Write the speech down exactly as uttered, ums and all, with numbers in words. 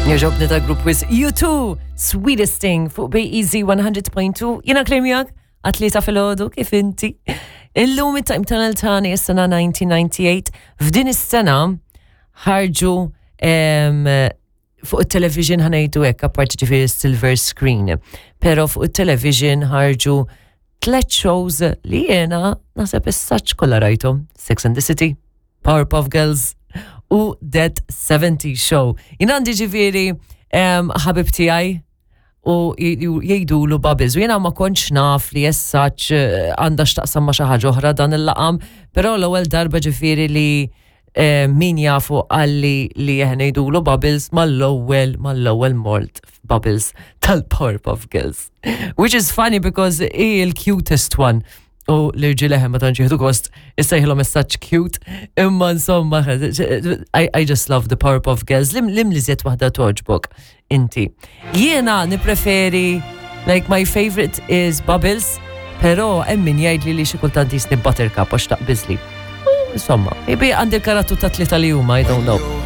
Jogħġobni ta' grupp wisq U two, Sweetest Thing fuq B E Z one hundred point two. Jiena Claire miegħek għat-tlieta filgħodu, kif inti? Illum it-Time Tunnel tani is-sena elf disa' mija u disgħa u disgħin. F'din is-sena ħarġu em, fuq il-television, ħa ngħidu hekk, apparti ġifieri silver screen. Pero fuq il-television ħarġu tlet shows li jena naħseb essaċ kollha rajthom. Sex and the City, Powerpuff Girls u That seventy Show. Jien għandi ġifieri em, ħabib tiegħi u jgħidulu Bubbles. U jena ma kontx naf li jessaċ għandha x'taqsam ma xi ħaġa oħra dan il-laqam, però l-ewwel darba ġifieri li eh, min jafu qalli li jeħna jgħidulu Bubbles, mal-ewwel mal-ewwel mort Bubbles tal-Powerpuff Girls. Which is funny because hi il-cutest one. U l-irġiel ma tantx jieħdu gost issejħilhom as such cute. Imma insomma, I, I just love the Powerpuff Girls. Lim, lim li żiet waħda togħġbok inti? Jiena nipreferi, like, my favorite is Bubbles, pero hemm min jgħidli li xi kultant jisni Buttercup għax taqbiżli. Insomma, maybe għandi l-karattru ta' tlieta li huma, I don't know.